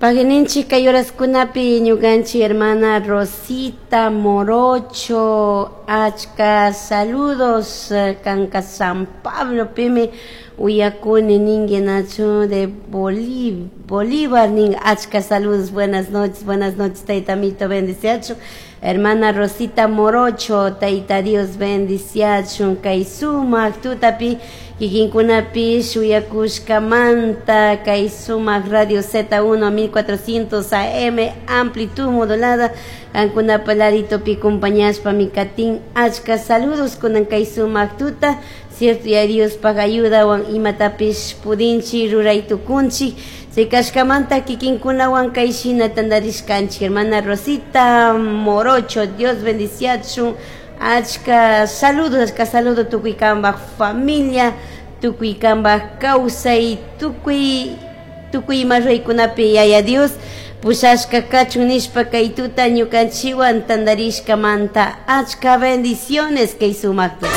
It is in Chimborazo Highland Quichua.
Pagui kay horaskunapi ñukanchik hermana Rosita Morocho, achka saludos kanka San Pablo pimi uyakuni ninki nachu de Bolívar nin. Achka saludos, buenas noches, buenas noches, tayta amito bendiciachun. Hermana Rosita Morocho, tayta Dios bendiciachun kay sumak tutapi kikinkunapi shuyakushkamanta kay sumak Radio Z1 1400 AM amplitud modulada kankunapa laditopi compañashpami katin. Achka saludos kunan kay sumak tuta, cierto, ya Diospaj ayudawan imatapish pudinchik ruray tukunchik. Chay kashkamanta kikinkunawan kay shina tantarishkanchik. Hermana Rosita Morocho, Dios bendiciachun. Achka saludos, achka saludo tukuy kambaj familia, tukuy kambaj kawsay, tukuy tukuy ima ruraykunapi yaya Dios pushashka kachun nishpa kay tuta ñukanchikwan tantarishkamanta. Achka bendiciones kay sumakta.